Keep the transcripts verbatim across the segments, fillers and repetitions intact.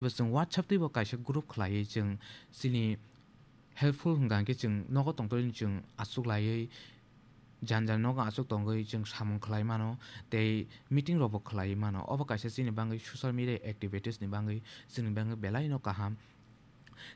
Bo chwng WhatsApp twi bo kaisa group khlaiwi chwng chini helpful hwnkha hwnkhe chwng nogo tongtwini chwng achuk laiwi jan jan nogo achuk tongwi chwng samung khlai mano tei meeting rokbo khlaiwi mano. Obo kaisa chini bagwi social media activities ni bagwi chwngni bagwi belaino kaham.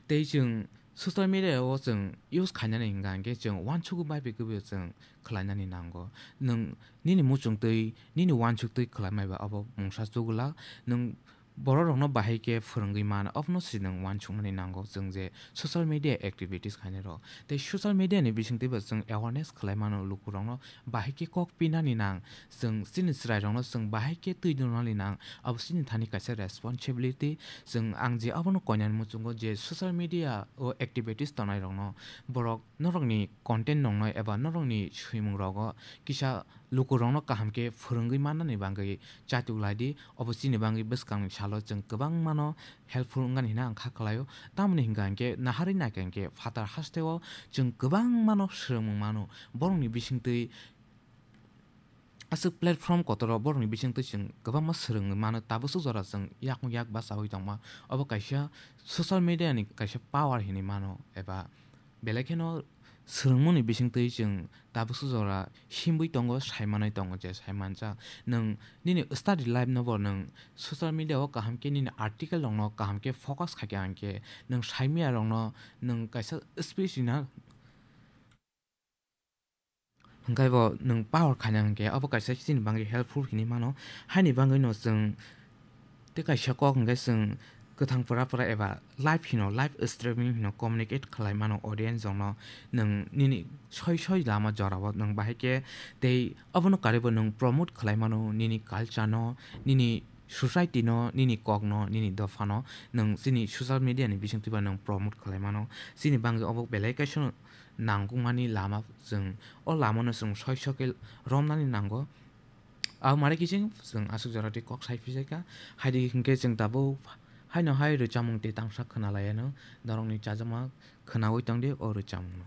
Tei chwng social media o chwng use khainani hwnkha hwnkhe chwng uansukgwi bai bai khe bo chwng khlainani nango. Nwng nini muchungtwi, nini uansuktwi khlaimaiba abo mungsa chugulak. Nwng bororokno bahai khe phwrwngwi man, abono se nwng uansuknani nango chwng je social media activities khainairok. Tei social media ni bisingtwibo chwng awareness khlai mano lukurokno bahai khe kok pinani nang. Chwng chini chwrairokno chwng bahai khe twi dunani nang. Abo chini thani kaisa responsibility. Chwng ang je abono koinani muchungo je social media o activities tongnairokno borok norokni content nongnai eba norokni swimung rogo kisa lukurokno kaham khe phwrwngwi mannani bagwi chatuk lai di. Obo chini bagwi bwskangni salo chwng kwbangmano helpful wngnani hwnwi ang kha khlaio. Tamoni hwnkha hwnkhe naharwi naikha hwnkhe phatar hasteo chwng kwbangmano swrwngmung mano. Borokni bisingtwi aswk platform kotoro borokni bisingtwi chwng kwbangma swrwngwi mano, tabuk swk jora chwng yakung yak bachaui tongma. Obo kaisa social media ni kaisa power hinwi mano, eba belai kheno swrwngmungni bisingtwi chwng tabuk swk jora himwi tongo, sai manwi tongo je sai manjak. Nwng nini study life no bo nwng social media o kaham khe nini article rokno kaham khe focus khaikha hwnkhe nwng saimya rokno nwng kaisa speech rina hwnkhe bo nwng power khaina hwnkhe abo kaisa chini bagwi helpful hinwi mano. Haini bagwino chwng tei kaisa kok hwnkhe chwng kwthang pura pura eba live hino, live streaming hino communicate khlai mano audience rokno. Nwng nini soi soi lama jorao nwng bahai khe tei abono karwibo nwng promote khlai mano nini culture no, nini society no, nini kok no, nini dopha no nwng chini social media ni bisingtwi ba nwng promote khlai mano. Chini bagwi obo belai kaisa nangkukmani lama, chwng o lama no chwng soi soi khe romnani nango. Abo mare kiching chwng aswk jora twi kok sai phi jai kha. Haidi hinkhe chwng tabuk haino hai rwchapmung tei tangsa khwna lai anw, norokni chajakma khwnaui tong di o rwchapmung no.